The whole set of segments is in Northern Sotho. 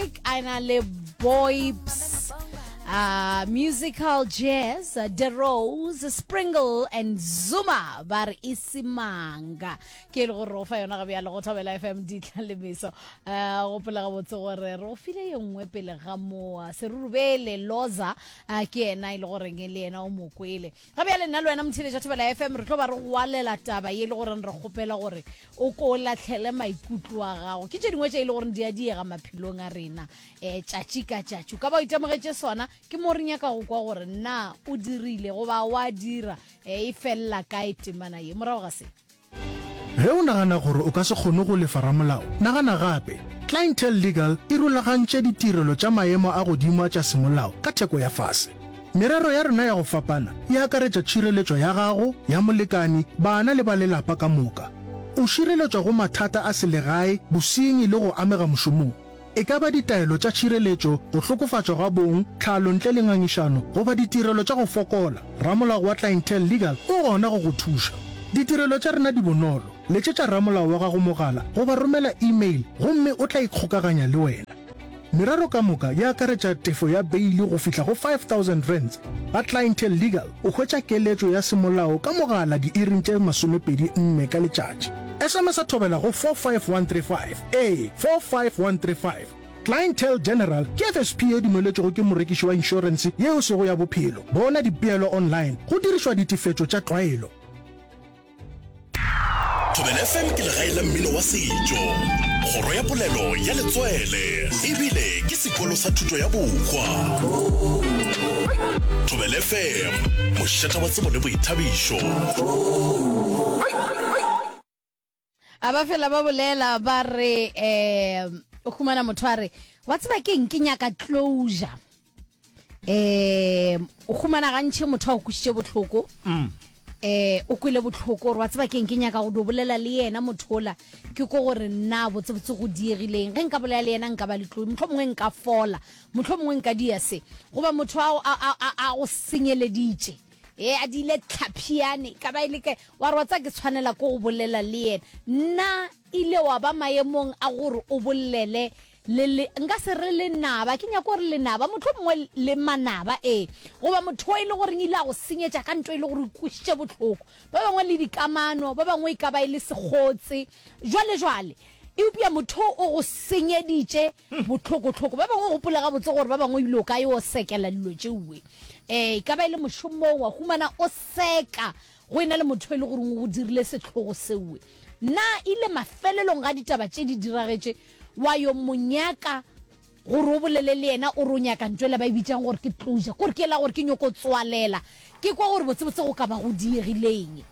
Music a na le Boybs uh, Musical Jazz, The Rose, Springle and Zuma ba re isimanga ke e le gore re go fa yona ga bjale go Thobela FM ditla le meso. Uh, gopola gabotse gore re go file ye nngwe pele ga moa Serurubele Loza uh, ke yena e le goreng le yena o mo kwele. Ga bjale nna le wena motheeletša Thobela FM re tlo ba re gwalela taba ye e le goreng re kgopela gore o ko o lahlele maikutlo a gago. Ke tše dingwe tše e le goreng di a diega maphelong a rena um tšatši ka tšatši. O ka ba o itemogetše sona, ke mo re nyaka go kwa gore na o dirile goba wa dira, um e felela kae temana ye. Morago ga se. Ge o nagana gore o ka se kgone go lefa ramolao, nagana gape. Clientele Legal e rulagantše ditirelo tša maemo a godimo a tša semolao ka theko ya fase. Merero ya rena ya go fapana e akaretša tšhireletšo ya gago, ya molekani, bana le ba lelapa ka moka. O šireletšwa go mathata a selegae, bosenyi le go amega mošomong. E ka ba ditaelo tša tšhireletšo, go hlokofatšwa ga bong, tlhalo ntle le ngangišano, goba ditirelo tša go fokola, ramolao wa Clientele Legal o gona go go thuša. Ditirelo tša rena di bonolo, letšetša ramolao wa gago mogala goba romela e-mail gomme o tla ikgokaganya le wena. Merero ka moka e akaretša tefo ya beili go fihla go R5000. Ga Clientele Legal o hwetša keletšo ya semolao ka mogala diiring tše 24 ka letšatši. SMS-a thobela go 45135. Ee, 45135. Clientele General ke FSP ye dumeletšwego ke morekiši wa inšorense ye e sego ya bophelo. Bona dipeelo online go dirišwa ditefetšo tša tlwaelo. Thobela FM ke legae la mmino wa setšo, kgoro ya polelo ya letswele, ebile ke sekolo sa thuto ya bohwa. Thobela FM, mošata wa tsebo le boithabišo. A ba fela ba bolela ba re um o humana motho a re wa tseba keng ke nyaka closure um o humana gantši motho a o kwišitše bohloko um o kwele bohloko gore wa tseba keng ke nyaka go do bolela le yena motho ola ke ko gore nna botsebotse go diegileng ge nka bolela le yena nka ba le tlo mohlho mongwe nka fola mohlho mongwe nka dia se goba motho a go senyeleditše e a diile tlhaphiane ka ba e le kae Wa re wa tseba ke tshwanela ke go bolela le yena. Nna ile wa ba maemong a gore o bolele le le, nka se re lenaba, ke nyako gore lenaba, mohlomongwe le manaba, ee, goba motho o e le goreng ile a go senyetša ka nto e le gore o kwešitše bohloko. Ba bangwe le dikamano, ba bangwe e ka ba e le sekgotse, jwale jwale. Eupša motho o go senyeditše bohlokohloko. Ba bangwe gopola gabotse gore ba bangwe ebile o ka yo sekela dilo tšeue. Um e ka ba e le mošomong, wa humana o seka Go e na le motho e le goreng o go dirile sehlogo seoe, na ile mafelelong ga ditaba tše di diragetše wa yo mo nyaka gore o bolele le yena o re o nyaka ntho ela ba e bitšang gore ke closure, kore ke ela gore ke nyoko tswalela, ke kwa gore botsebotse go ka ba go diegileng.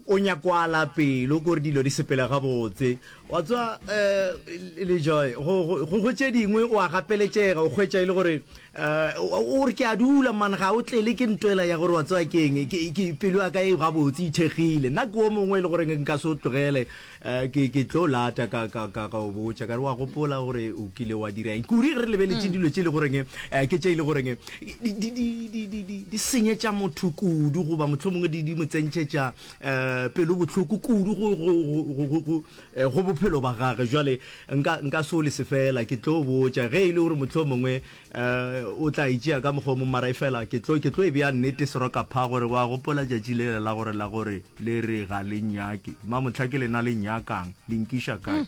O nyakwala pelo kore dilo di sepele gabotse. Wa tseba um Lejoy, go, go, go tše dingwe o a gapeletšega, o hwetša e le gore um o re ke a dula man, ga o tlele ke ntwela ya gore wa tseba ke eng, ke, ke, pelo ya ka e gabotse, e ithekgile. Nna ke o mongwe e le goreng nka se o tlogele, um ke, ke tlo lata ka, ka, ka, ka o botša ka re wa gopola gore o kile wa dira eng. Kudu ge re lebeletše dilo tše e le goreng um ke tše e le goreng di, di, di, di, di, di, di senyetša motho kudu goba mohlomongwe di, di mo tsentšhetša um pelo bohloko kudu go, go, go, go, go, go, eh, go bophelo ba gage. Jwale nka, nka se o lese fela, ke tlo botša ge e le gore mohlomongwe um o tla e tšea ka mokgwa o mongwe, mara efela ke tlo, ke tlo e bea nnete serokapha gore wa gopola tšatši lela la gore, la gore le re ga le nnyake. Mamohla ke lena le nnyakang, le nkiša kae?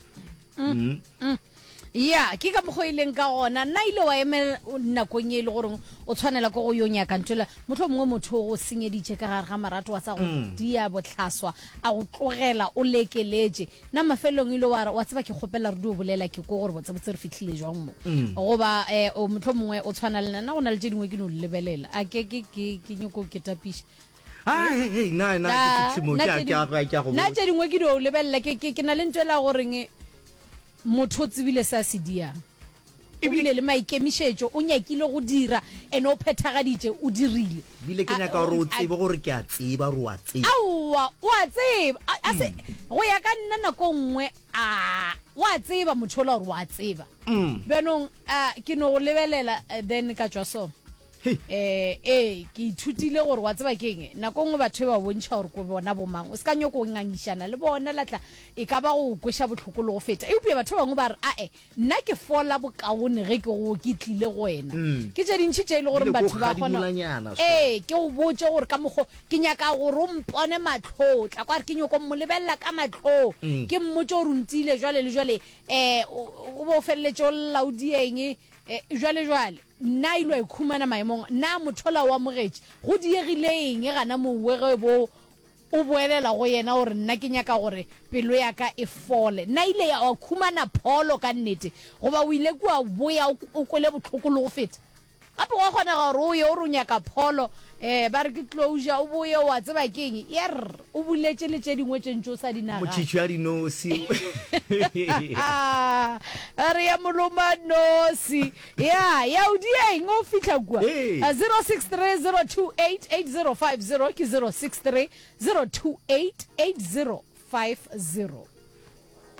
Mm. Mm. Ya, ke ka mokgwa o e leng ka gona. Nna ile wa emela nakong ye e le goreng o tshwanela ke go yo nyaka ntho mohlho mongwe motho o go senyeditše ka gare ga marato wa sa go mm. dia bohlaswa a go tlogela o lekeletše. Nna mafelelong ile wa re wa tseba ke kgopela re dio bolela ke ko gore botsebotse re fihlile jwang mo. Mm. Goba eh, o mohlho mongwe o tshwana le nna go na le tše dingwe ke no lebelela. A ke ke ke ke nyoko ke tapiša. Ah, hey, hey, na na ke fihle mo ke a ke a ke a go. Nna tše dingwe ke dio lebelela ke ke ke na le ntho e la goreng Motho o tsebile se a se diang. O bile le maikemišetšo, o nyakile go dira, and o phethagaditše, o dirile. Bile ke nyaka gore o tsebe gore ke a tseba gore o a tseba. Aowa, o a tseba. A se, go ya ka nna nako nngwe, a, o a tseba motho ola gore o a tseba. Bjanong, a, ke no go lebelela, then ka tšwa so. Um ee, ke ithutile gore wa tseba ke eng, nako nngwe batho e ba bontšha gore ko bona bomang, o se ka nyoko ngangišana le bona la tla, e ka ba go kweša bohloko le go feta. Eupša batho ba bangwe ba re, ae, nna ke fola bokaone ge ke go ke tlile go wena. Ke tše dintši tše e le goreng batho ba kgona, ee, ke go botše gore ka mokgo ke nyaka gore o mpone mahlong, tla kwa re ke nyoko mo lebelela ka mahlong, ke mmotše gore o ntiile jwale le jwale, um o be o feleletše o lla o dieng, jwale jwale. Nna ilo a ikhumana maemong? Na mothola o amogetše? Go diegile eng gana mowe ge bo o boelela go yena o re nna ke nyaka gore pelo ya ka e fole? Na ile ya wa khumana pholo ka nnete goba o ile kua boya o kwele bohloko le go feta? Gape gwa kgonega gore o ye o re o nyaka pholo, um ba re ke closure, o boye o a tseba ke eng, yerr, o buletše le tše dingwe tše ntše o sa di nagane. Motšhitšhi wa dinosi. A re ya moloma nosi. Ya, ya o dia eng o fihla kua? Ee. 0630288050 ke 0630288050.